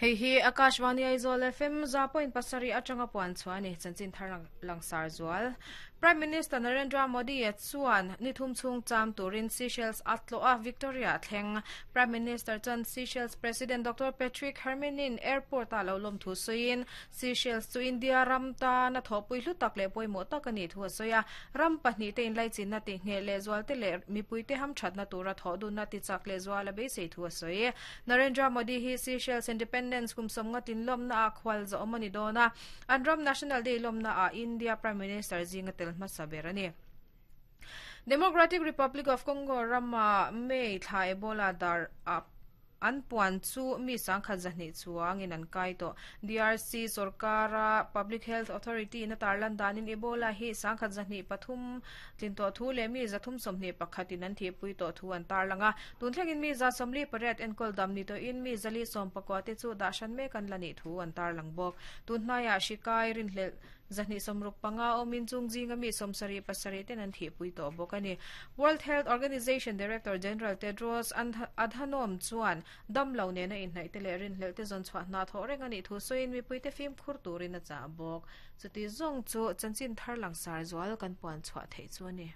Hei hi Akashvani Aizawl FM 100.7 atanga puan chhuah a ni, chanchin thar langsar zual. Prime Minister Narendra Modi chuan ni thum chhung cham turin Seychelles a tlawh a, Victoria a thleng. Prime Minister chuan Seychelles President Doctor Patrick Herminie airport-ah lo lawm thu sawiin, Seychelles chu India ram tana thawhpui hlu tak leh pawimawh tak a nih thu a sawi a. Ram pahnihte inlaichinna tihngheh lehzualte leh mipuite hamthatna tura thawh dunna tichak lehzual a beisei thu a sawi. Narendra Modi hi Seychelles Independence kum sawmnga tlin lawmna ah khual zawhawm a ni dawn a, an ram National Day lawmna ah India Prime Minister zinga tel hmasa ber a ni. Democratic Republic of Congo rama May thla Ebola dar ah an puan chu mi sangkhat zahnih chuangin an kai tawh. DRC sorkara Public Health Authority in a tarlan danin Ebola hi sangkhat 203 Tlin tawh thu leh mi 321 in an thihpui tawh thu an tarlang a. Tun thlengin mi 48 enkawl dam ni tawhin mi 410 te chu dah hran mek an la nih thu an tarlang bawk. Tun hnaiah hri kai rinhlelh 265 awmin chung zinga mi 77 ten an thihpui tawh bawk a ni. World Health Organization Director General Tedros Adhanom chuan dam lo nena inhnaih te leh rinhlelh te zawn chhuah hna thawh reng a nih thu sawiin mipuite fimkhur turin a chah bawk. Chuti zawng chu chanchin thar langsar zual kan puan chhuah theih chu a ni.